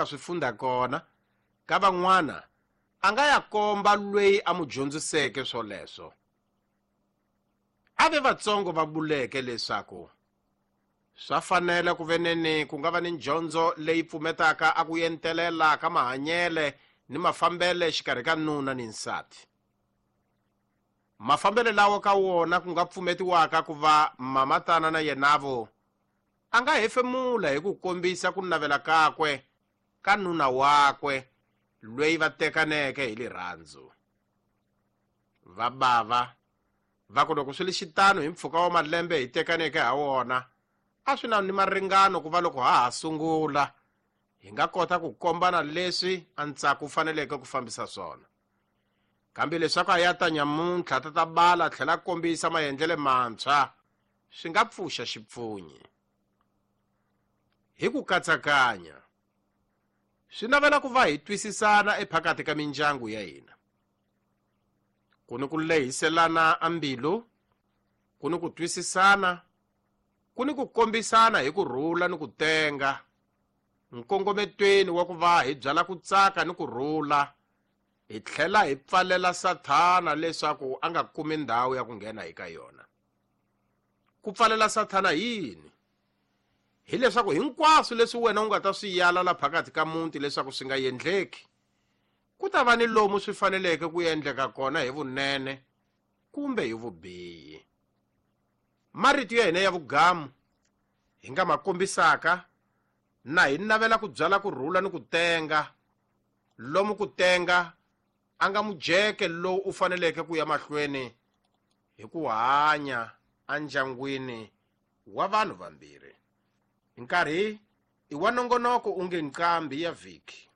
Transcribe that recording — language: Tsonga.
nga swi funda kona ka van'wana a nga ya komba lweyi a mu dyondziseke swoleswo. A ve vatsongo va vuleke leswaku swa fanela ku veneni ku nga va ni ndyondzo leyi pfumetaka a ku entelela ka mahanyele ni mafambele xikarhi ka nuna ni nsati. Mafambele lawa ka wona ku nga pfumetiwaka ku va mamatana na yenavo a nga hefemula hi ku kombisa ku navela kakwe ka nuna wakwe lweyi va tekaneke hi lirhandzu. Va bava va ku loko swi li xitano hi mpfhuka wa malembe hi tekaneke ha wona a swi na ni maringano ku va loko ha ha sungula hi nga kota ku kombana leswi a ntsako wu faneleke ku fambisa swona. Kambe leswaku a ya ta nyamuntlha ta ta bala tlhela kombisa maendlele mantshwa swi nga pfuxa xipfunyi. Hi ku katsakanya swi navela ku va hi twisisana ephakati ka mindyangu ya hina. Ku ni ku lehiselana a mbilu, ku ni ku twisisana, ku ni ku kombisana hi ku rhula ni ku tenga, nkongometweni wa ku va hi byala ku tsaka ni ku rhula, hi tlhela hi pfalela Sathana leswaku a nga kumi ndhawu ya ku nghena eka yona. Ku pfalela Sathana yini? Hi leswaku hinkwaswo leswi wena u nga ta swi yala la phakathi ka muti leswaku swi nga endleki, ku ta va ni lomu swi faneleke ku endleka kona hi vunene kumbe hi vubihi. Marito ya hina ya vugamu hi nga ma kombisaka na hi navela ku byala ku rhula ni ku tenga, lomu ku tenga a nga mujeke lowu u faneleke ku ya mahlweni hi ku hanya endyangwini wa vanhu vambirhi. Nkarhi i wa nongonoko u nge nqambi ya vhiki.